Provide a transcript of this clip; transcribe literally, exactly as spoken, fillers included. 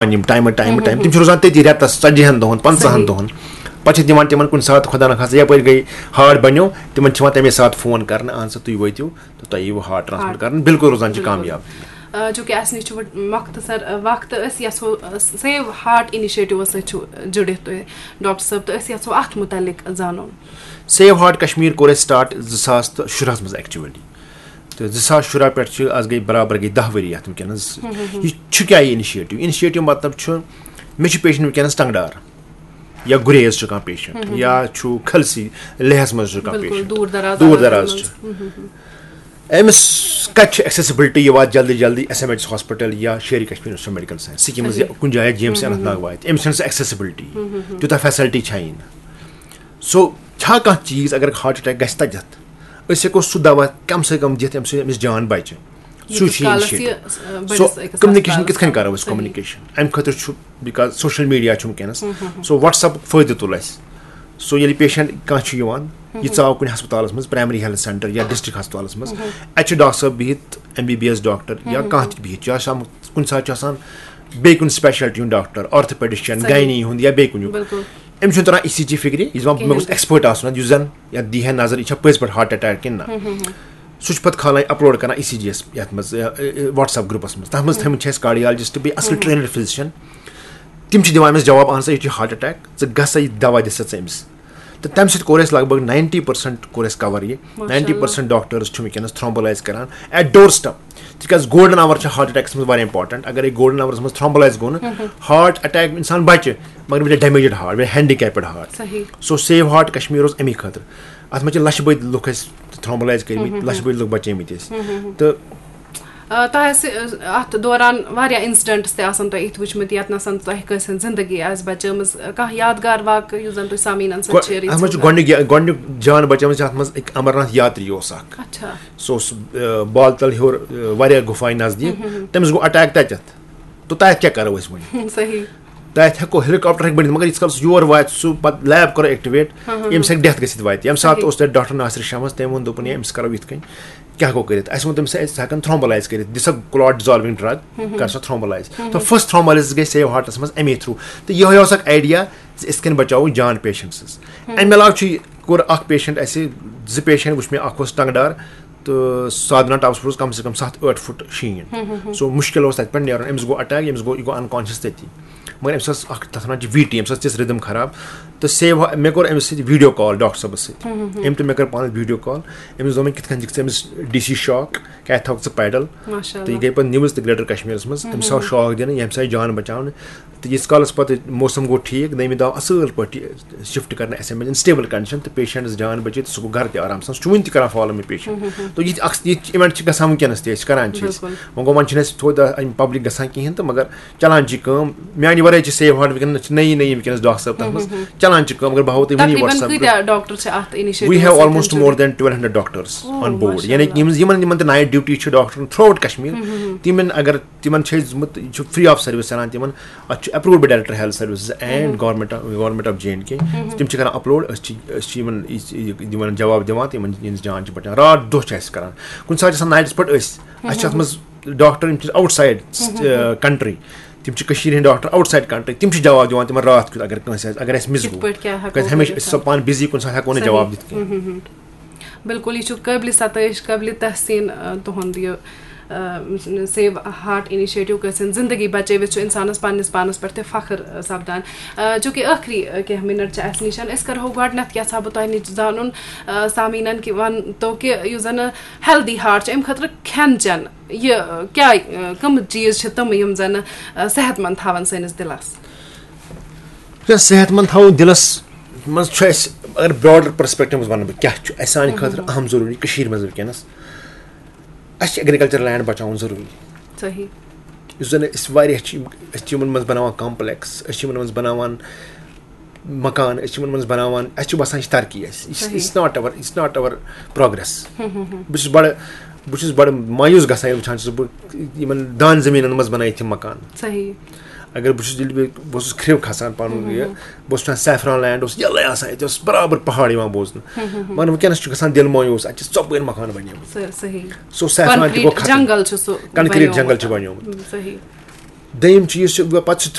یِوان یِم ٹایمہٕ ٹایمہٕ ٹایمہٕ، تِم چھِ روزان تٔتی رٮ۪تَس ژَتجِہَن دۄہَن، پنٛژاہَن دۄہَن۔ پَتہٕ چھِ دِوان تِمَن کُنہِ ساتہٕ، خۄدا نہ خاستہٕ یَپٲرۍ گٔے ہارٹ بَنیو، تِمَن چھِ یِوان تَمے ساتہٕ فون کَرنہٕ، اَہَن سا تُہۍ وٲتِو تہٕ تۄہہِ یِیِو ہارٹ ٹرانسپلانٹ کَرنہٕ، بِلکُل روزان چھِ کامیاب۔ آ، چوٗنٛکہِ اَسہِ نِش چھُ وۄنۍ مۄختصر، آ، وقت، أسۍ یَژھو، آ، سیو ہارٹ اِنِشیٹِوَس سۭتۍ چھُ جُڑِتھ تُہۍ، ڈاکٹر صٲب، تہٕ أسۍ یَژھو اَتھ مُتعلِق زانُن۔ سیو ہارٹ کشمیر کوٚر اَسہِ سٹارٹ زٕ ساس تہٕ شُراہَس منٛز ایکچُؤلی، تہٕ زٕ ساس شُراہ پٮ۪ٹھ چھِ، آز گٔے برابر گٔے دَہ ؤری اَتھ وٕنکیٚنَس۔ یہِ چھُ کیٛاہ یہِ اِنِشیٹِو؟ اِنِشیٹِو مطلب چھُ، مےٚ چھُ پیشنٹ وٕنکیٚنَس ٹنٛگہٕ ڈار یا گُریز چھُ کانٛہہ پیشنٹ یا چھُ کھلسی لیہَس منٛز چھُ کانٛہہ بِلکُل، پیشنٹ، دوٗر دراز دوٗر علاقن دراز منٛز۔ چھُ۔ أمِس کَتہِ چھِ ایکسیسبلٹی یِوان جلدی جلدی ایس ایم ایچ ہاسپٹل یا Sher-e-Kashmir institute medical science scheme منٛز یا کُنہِ جایہِ G M C Anant Nag واتہِ؟ أمِس چھَنہٕ سۄ ایکسیسبلٹی، تیوٗتاہ فیسلٹی چھےٚ یی نہٕ۔ سو چھا کانٛہہ چیٖز اگر ہارٹ اٹیک گژھِ تَتٮ۪تھ، أسۍ ہٮ۪کو سُہ دوا کم سے کم دِتھ ییٚمہِ سۭتۍ أمِس جان بچہِ؟ سُہ ییٖتِس چھُ کالس initiative۔ یہِ، آ، بٔڑِس سو أکِس کمنِکیشن ہسپتالس کِتھ کٔنۍ تام۔ کرو أسۍ صحیح۔ کمنِکیشن؟ امہِ خٲطرٕ چھُ، بِکاز سوشل میڈیا چھُ وٕنکیٚنس، سو وٹس ایپ فٲیدٕ تُل اَسہِ۔ سو ییٚلہِ پیشنٹ کانٛہہ چھُ یِوان، یہِ ژاو کُنہِ ہسپتالس منٛز، پرایمری ہیلتھ سینٹر یا ڈسٹرکٹ ہسپتالس منٛز، اَتہِ چھُ ڈاکٹر صٲب بِہِتھ، M B B S doctor یا کانٛہہ تہِ بِہِتھ چھُ آسان، کُنہِ ساتہٕ چھُ آسان بیٚیہِ کُنہِ سپیشلٹی ہُنٛد ڈاکٹر، آرتھوپیڈسٹ چھُ، صحیح۔ گاینی ہُنٛد یا بیٚیہِ کُنیُک۔ بِلکُل۔ أمِس چھُنہٕ تران ای سی جی فِکرِ، یہِ چھُ دَپان مےٚ گوٚژھ ایکسپٲرٹ آسُن اَتھ، یُس زَن یَتھ دی ہا نظر، یہِ چھا پٔزۍ پٲٹھۍ ہارٹ اٹیک کِنہٕ نہ۔ سُہ چھُ پَتہٕ کھالان، اپلوڈ کران ای سی جی یَس یَتھ منٛز، وٹس ایپ گروپَس منٛز۔ تَتھ منٛز تھٲومٕتۍ چھِ اَسہِ کارڈیالجسٹ بیٚیہِ اَصٕل ٹرینر فِزِشن۔ تِم چھِ دِوان أمِس جواب، اَہن سا، یہِ چھُ ہارٹ اٹیک، ژٕ گژھ سا یہِ دوا دِ سا ژٕ أمِس۔ تہٕ تَمہِ سۭتۍ کوٚر اَسہِ لگ بگ ناینٹی پٔرسنٹ کوٚر اَسہِ کور یہِ۔ ماشاء ناینٹی اللہ۔ پٔرسنٹ ڈاکٹٲرٕز چھِ وٕنکیٚنَس تھرومبولائز کران ایٹ ڈور سٹیپ، تِکیازِ گولڈن آور چھُ ہارٹ اٹیکس منٛز واریاہ امپورٹنٹ۔ اگر یہِ گولڈن آورس منٛز تھرومبولائز گوٚو نہٕ، ہارٹ اٹیک اِنسان بچہِ، مگر بیٚیہِ ڈیمیجڈ ہارٹ، بیٚیہِ ہینڈیکیپڈ ہارٹ۔ صحیح۔ سو سیو ہارٹ کشمیر اوس امی خٲطرٕ۔ اتھ منٛز چھِ لچھِ بٔدۍ لُکھ اَسہِ تھرومبولائز کٔرمٕتۍ، لچھِ بٔدۍ لُکھ بچیمٕتۍ ٲسۍ۔ تہٕ آ، تۄہہِ آسہِ، آ، اتھ دوران واریاہ انسیڈنٹس تہِ آسن تۄہہِ یِتھ وٕچھمٕتۍ یتھ نسن تۄہہِ کٲنٛسہِ ہٕنٛز زندگی آسہِ بچٲمٕژ، کانٛہہ یادگار واقعہٕ یُس زن تُہۍ سامعیٖنن سۭتۍ شیئر اتھ منٛز چھُ یژھِو؟ گۄڈنیُک یا-، گۄڈنیُک جان بچٲمٕژ چھِ اتھ منٛز أکۍ امرناتھ یاتری اوس اکھ۔ اچھا۔ سُہ اوس، آ، بالتل ہیوٚر، آ، واریاہ گُفایہِ نزدیٖک۔ تٔمِس گوٚو اٹیک تتٮ۪تھ۔ تہٕ تتٮ۪تھ کیٛاہ کرو أسۍ وۄنۍ؟ صحیح۔ تتھ ہٮ۪کو ہیلیکاپٹر ہیٚکہِ بٔنِتھ، مگر ییٖتِس کالس یور واتہِ سُہ، پتہٕ لیب کرو ایکٹیویٹ، ییٚمہِ سۭتۍ ڈیتھ گٔژھِتھ واتہِ۔ ییٚمہِ ساتہٕ صحیح۔ اوس تتہِ ڈاکٹر ناصر شمس، تٔمۍ ووٚن، دوٚپُن، "ہے، أمِس کرو یِتھ کٔنۍ، کیٛاہ ہٮ۪کو کٔرِتھ؟" اسہِ ووٚن تٔمِس، "أسۍ ہٮ۪کن تھرومبولائز کٔرِتھ، دِ سا کلاٹ ڈِزالوِنگ ڈرگ، کر سا تھرومبولائز۔" تو فرسٹ تھرومبولائز گٔے سیو ہارٹس منٛز امی تھروٗ۔ تہٕ یِہوٚے اوس اکھ آئیڈیا زِ أسۍ کِتھ کٔنۍ بچاوو جان پیشنٹسز۔ امہِ علاوٕ چھُ یہِ کوٚر اکھ پیشنٹ اسہِ، زٕ پیشنٹ وٕچھ مےٚ، اکھ اوس ٹنٛگہٕ ڈار تہٕ سادنا ٹاپس پٮ۪ٹھ اوس کم سے کم ستھ ٲٹھ فُٹ شیٖن۔ سو مُشکِل اوس تتہِ پٮ۪ٹھ نیرُن۔ أمِس گوٚو اٹیک، أمِس گوٚو، یہِ گوٚو انکانشیس تٔتی۔ مگر أمِس ٲس اکھ، تتھ ونان چھِ وی ٹی، أمِس ٲس تِژھ رِدم خراب۔ تہٕ سیو، مےٚ کوٚر أمِس سۭتۍ ویڈیو کال، ڈاکٹر صٲبس سۭتۍ۔ أمۍ تہٕ مےٚ کٔر پانس ویڈیو کال۔ أمِس دوٚپ مےٚ، کِتھ کٔنۍ دِکھ ژٕ أمِس ڈی سی شاک، کیٛاہ تھاوکھ ژٕ پیڈل؟ ماشاء تہٕ یہِ اللہ۔ گٔے پتہٕ نِوٕز تہِ گریٹر کشمیرس منٛز، أمِس آو شاک دِنہٕ، ییٚمہِ سۭتۍ جان بچاونہٕ۔ تہٕ ییٖتِس کالس پتہٕ موسم گوٚو ٹھیٖک، دوٚیمہِ دۄہ اصٕل پٲٹھۍ شفٹ کرنہٕ ایس ایم ایچ ان سٹیبل کنڈیشن، تہٕ پیشنٹ جان بچٲے، تہٕ سُہ گوٚو گرٕ تہِ آرام سان۔ سُہ چھُ وُنہِ تہِ کران فالو مےٚ پیشنٹ۔ تو یِتھۍ اکھ، یِتھۍ ایونٹ چھِ گژھان وٕنکیٚنس تہِ، أسۍ کران چھِ أسۍ۔ بِلکُل۔ وۄنۍ گوٚو، وۄنۍ چھِنہٕ اَسہِ تھوڑا اَمہِ پبلک گژھان کِہیٖنۍ تہٕ، مگر چلان چھِ کٲم۔ میانہِ ورٲے چھِ سیو ہارٹ وٕنکیٚنَس، چھِ نٔیی نٔیی وٕنکیٚنَس ڈاکٹر صٲب تَتھ منٛز۔ چلان چھِ کٲم، اگر بہٕ ہاوو تۄہہِ وٕنی تقریباً وٹس ایپ۔ کۭتیٛاہ ڈاکٹر چھِ اَتھ We اِنِشیٹِوَس have سۭتۍ almost more جُڑِتھ؟ than twelve hundred doctors Oh، on board۔ ماشاء یعنی اللہ۔ یِم، یِمن، یِمن تہِ نایٹ ڈیوٹی چھِ ڈاکٹرن تھرٛوٗ آوُٹ کشمیر، تِمن اگر تِمن چھِ أسۍ دِژمٕژ، یہِ چھُ فری آف سٔروِس چلان تِمن۔ اَتھ چھُ approved by director health services and government, government of J and K. تِم چھِ کران اپلوڈ، أسۍ چھِ، أسۍ چھِ یِمن، یہِ، یہِ، یِمن جواب دِوان تہٕ یِمن، یِہنٛز جان چھِ بچان۔ راتھ دۄہ چھِ اَسہِ کران، کُنہِ ساتہٕ چھِ آسان نایٹس پٮ۪ٹھ أسۍ، اَسہِ چھِ اَتھ منٛز ڈاکٹر، یِم چھِ آوُٹ سایڈ کنٹری، تِم چھِ کٔشیٖرِ ہِنٛدۍ ڈاکٹر آوُٹ سایڈ کنٹری، تِم چھِ جواب دِوان تِمن راتھ کیُتھ، اگر کٲنٛسہِ آسہِ، اگر اَسہِ مِس کِتھ گوٚو۔ پٲٹھۍ کیٛاہ ہٮ۪کو کیٛازِ ہمیشہِ کٔرِتھ؟ أسۍ چھِ آسان پانہٕ بِزی، کُنہِ ساتہٕ ہٮ۪کو نہٕ صحیح۔ جواب دِتھ کینٛہہ۔ بِلکُل، یہِ چھُ قٲبلِ ستٲیِش، قٲبلِ تحسیٖن، آ، تُہُنٛد یہِ، آ، سیو ہارٹ اِنِشیٹِو، کٲنٛسہِ ہٕنٛز زِندگی بچٲوِتھ چھُ اِنسانَس پنٛنِس پانَس پٮ۪ٹھ تہِ فخر، آ، سپدان۔ آ، چوٗنٛکہِ ٲخری، آ، کینٛہہ مِنٹ چھِ اَسہِ نِش، أسۍ کَرہو گۄڈٕنٮ۪تھ یَژھان بہٕ تۄہہِ نِش زانُن، آ، سامعیٖنَن کہِ وَن تو کہِ یُس زَن ہیلدی ہارٹ چھُ، اَمہِ خٲطرٕ کھٮ۪ن چٮ۪ن، یہِ، آ، کیٛاہ، آ، کٕم چیٖز چھِ تِم یِم زَن، آ، صحت مند تھاوَن سٲنِس دِلَس؟ یُس صحت مند تھاوُن دِلس منٛز چھُ اَسہِ، اگر براڈر پرسپیکٹو منٛز وَنہٕ بہٕ کیٛاہ چھُ اَسہِ سانہِ خٲطرٕ اہم ضروٗری کٔشیٖرِ منٛز وٕنکیٚنَس، اَسہِ چھِ ایگریکلچر لینڈ بچاوُن ضروٗری۔ صحیح۔ یُس زَن أسۍ واریاہ چھِ، أسۍ چھِ یِمن منٛز بناوان کمپلیکس، أسۍ چھِ یِمن منٛز بناوان مکان، أسۍ چھِ یِمن منٛز بناوان، اَسہِ چھِ باسان یہِ چھِ ترقی اَسہِ، یہِ چھِ، صحیح۔ it's not our، it's not our progress۔ بہٕ چھُس بڑٕ، بہٕ چھُس بڑٕ مایوس گژھان، ییٚلہِ وٕچھان چھُس بہٕ یِمن دان زٔمیٖنن منٛز بنٲیِتھ یِم مکان۔ صحیح۔ اگر بہٕ چھُس، ییٚلہِ بہٕ، بہٕ اوسُس کھرٛو کھسان پَنُن یہِ، بہٕ اوسُس وٕچھان سیفران لینڈ اوس یَلَے آسان، ییٚتہِ اوس برابر پہاڑ یِوان بوزنہٕ۔ مگر وٕنکیٚنَس چھُ گژھان دِل مایوس، اَتہِ چھِ ژۄپٲرۍ مکان بَنیمٕتۍ۔ صحیح۔ سُہ سیفران تہِ کنکریٹ گوٚو ختم۔ جنگل چھُ سُہ کنکریٹ بنیومُت۔ جنگل چھُ بنیومُت۔ صحیح۔ دوٚیِم چیٖز چھُ، پَتہٕ چھُ